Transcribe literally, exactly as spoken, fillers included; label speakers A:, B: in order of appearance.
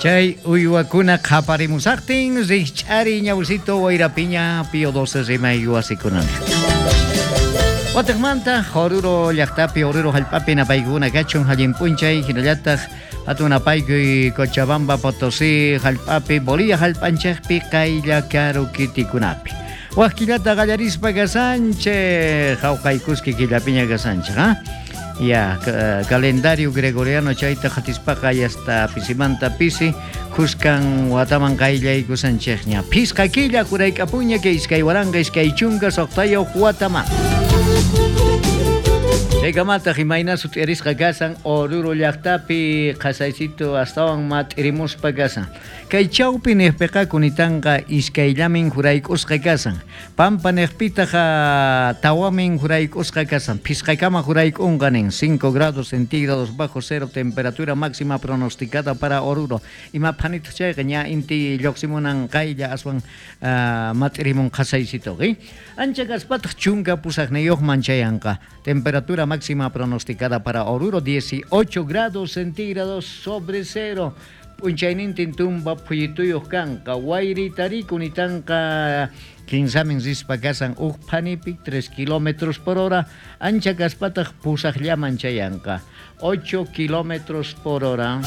A: Chay uywakuna qhaparimusaqtin rikch'ari ñawsito wayrapiña Pío doce rimay wasikunani. Watiqmanta Oruro llaqtapi, Oruro hallp'api napaykuna kachun allin p'unchay hinallataq hatun napaykuy Cochabamba, Potosí hallp'api, Bolivia hallp'anchikpi qaylla karu kitikunapi. Wak killata qallarispa kasanchik, hawqaykuski killapiña kasanchik, ha? Ya, calendario gregoriano chayta qatispaqa hasta pisimanta pisi kuskan wataman qayllaykusanchikña. Phisqa killa jurayk'apuña kay iskay waranqa iskay chunka suqtayuq wataman. Chaykamataq imayna sut'irisqa kasan Oruro llaqtapi qhasaysito astawan mat'irimuspa kasan. Kay chawpi niqpiqa kunitanqa iskayllamin jurayk'usqa kasan. Pampa niqpitaq tawamin jurayk'usqa kasan. Phisqakama jurayk'unqa nin cinco grados centígrados bajo cero temperatura máxima pronosticada para Oruro. Ima phanitaq chayqa ña inti lluqsimunan qaylla aswan uh, mat'irimun qhasaysito. Ancha kaspataq chunka pusaqniyuqman chayanqa. Temperatura máxima pronosticada para Oruro dieciocho grados centígrados sobre cero. P'unchaynintin tumba phuyituyuq kanqa. Wayritari kunitanqa kinsamin rispa kasan uj phanipi tres kilómetros por hora. Ancha kaspataq pusaqllaman chayanqa ocho kilómetros por hora.